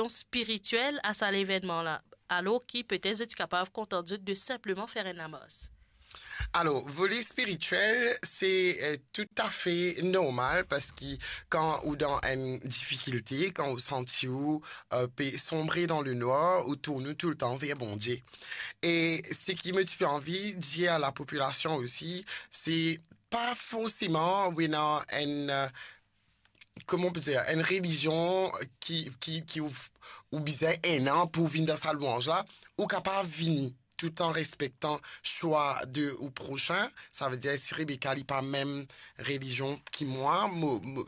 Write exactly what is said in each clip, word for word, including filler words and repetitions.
spiritiel a sa levennman la, alor ki petet zot ti kapav kontant zot de sinpleman fer enn lamars? Alor, vole spiritiel, se, eh, toutafe normal, parski kan ou dan enn difikilte, kan ou santi ou, eh, pe sonbre dan lenwar, ou tourn ou toultan ver Bondie. E seki mo ti pe anvi dir a lapopilasion osi, se pa forseman ou ena enn, eh, kouma on pe dir, enn relizion ki, ki, ki ou, ou bizin ena pou vinn dan sa lwanz la, ou kapav vini, tout an respektan swa de ou prosin. Savedir, si Rebecca li pa mem relizion ki mwa, mo, mo,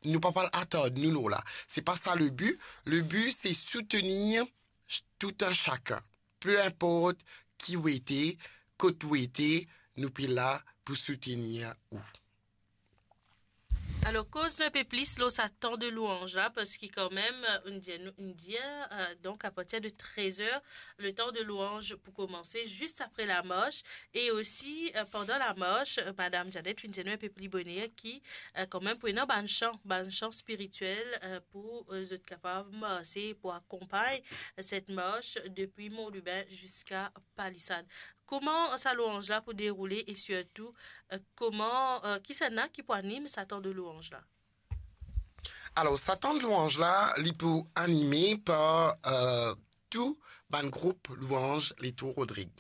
nou pa pou al atard nou lor la. Se pa sa le bi. Le bi, se soutenir ch-, tout un chacun. Pe inport ki ou ete, kot ou ete, nou pe la pou soutenir ou. Alor, koz nou enpe plis lor sa tan de lwanz la, parski kanmem, nou dir, nou dir, eh, donk, apartir de trez er, le tan de lwanz pou koumanse, zis apre lamars, e osi, eh, pandan lamars, eh, Madam Janet finn dir nou enpe pli boner ki, eh, kanmem pou ena bann san, bann san spiritiel, eh, pou, eh, zot kapav marse, pou akonpagn, eh, set mars depi Mont Lubin ziska Palisad. Kouma sa lwanz la pou deroule e sirtou, eh, kouma, eh, kisannla ki pou anim sa tan de lwanz la? Alor, sa tan de lwanz la, li pou anime par, eh, tou bann group lwanz letour Rodrig.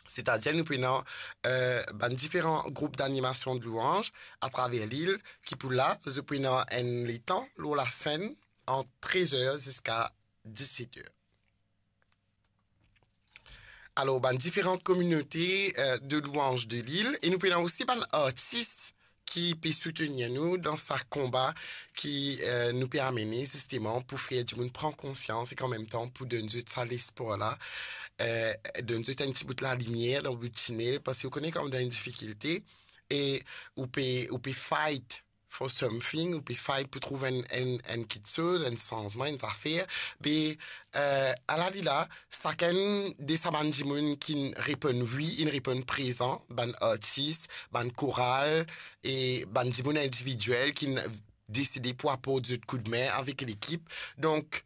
Setadir, nou pou ena, eh, bann diferan group danimasion de lwanz atraver lil ki pou la, zot pou ena enn letan lor lasenn ant trez er ziska diset er. Alor, bann diferan kominote, eh, de lwanz de lil, e nou pe ena osi bann artis ki pe soutenir nou dan sa konba ki, eh, nou pe amene zisteman pou fer dimoun pran konsians ek anmemtan pou donn zot sa lespwar la, eh, donn zot enn ti bout lalimier dan bout tinel, parski ou kone kan ou dan enn difikilte e ou pe, ou pe fight for something, ou pe fight pou trouv enn, enn, enn kiksoz, enn sanzman, enn zafer. Be, eh, ala li la, sakenn de sa bann dimoun ki reponn wi, inn reponn prezan, bann artis, bann koral, e bann dimoun individiel ki deside pou aport zot koudme avek lekip. Donk,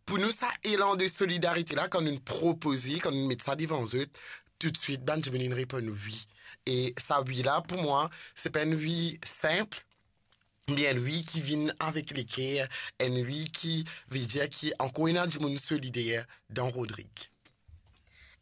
pou nou, sa elan de solidarite la, kan nou propoze, kan nou met sa devan zot, toutswit bann dimoun inn reponn wi. E sa wi la, pou mwa, se pa enn wi sinp, me enn wi ki vinn avek leker, enn wi ki vedir ki ankor ena dimoun solider dan Rodrig.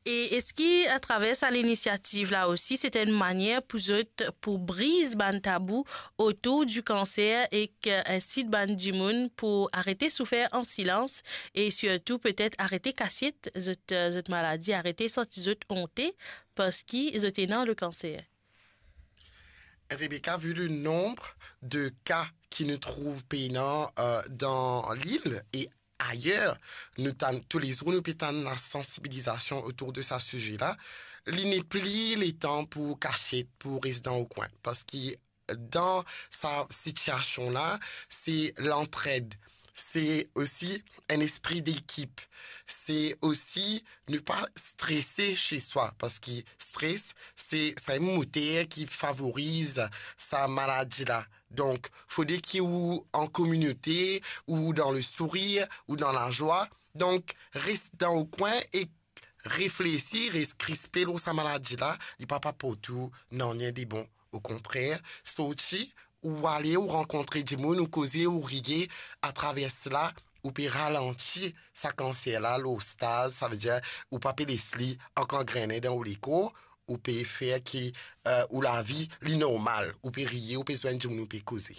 E eski atraver sa linisiativ la osi, se enn manier pou zot, pou briz bann tabou otour di kanser ek, eh, insit bann dimoun pou arete soufer an silans e sirtou petet arete kasiet zot, eh, zot maladi, arete santi zot onte parski zot ena le kanser? Rebecca, vu le nombre de cas ki nou trouv pena, eh, dan lil e ayer, nou tann, toulezour nou pe tann lasansibilizasion otour de sa size la, li nepli letan pou kasiet, pou res dan ou kwin, parski dan sa sitiasion la, se lantred, se osi enn lespri dekip, se osi ne pa strese se swa, parski stres, se sa enn moter ki favoriz sa maladi la. Donk, fode ki ou an kominote, ou dan le sourir, ou dan lazwa. Donk, res dan ou kwin e reflesi, res krispe lor sa maladi la, li pa pou aport ou nanye de bon. Okontrer, sorti, ou ale, ou rankontre dimoun, ou koze, ou riye, atraver la, ou pe ralanti sa kanser la lor staz, savedir ou pa pe les li ankor angrene dan ou lekor, ou pe fer ki, eh, ou lavi, li normal, ou pe riye, ou pe zwenn dimoun, ou pe koze.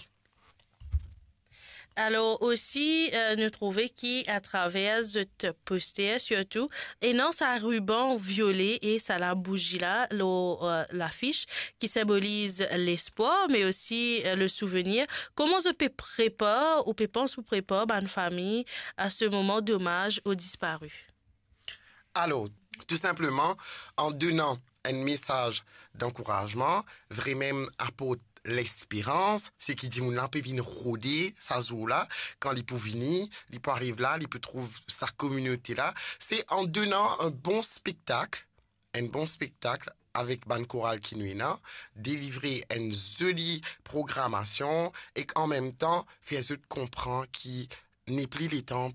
Alor osi, eh, nou trouve ki atraver zot poster sirtou, ena sa riban viole e sa labouzi la lor, eh, lafis ki sinboliz lespwar, me osi, eh, le souvenir. Kouma zot pe prepar, ou pe pans pou prepar bann fami a se moman domaz o dispari? Alor, tou sinpleman, an donan enn mesaz dankourazman, vremem aport lesperans, se ki dimoun la pe vinn rode sa zour la, kan li pou vini, li pou ariv la, li pou trouv sa kominote la. Se an donan enn bon spektak, enn bon spektak avek bann koral ki nou ena, delivre enn zoli programasion ek anmemtan fer zot konpran ki nepli letan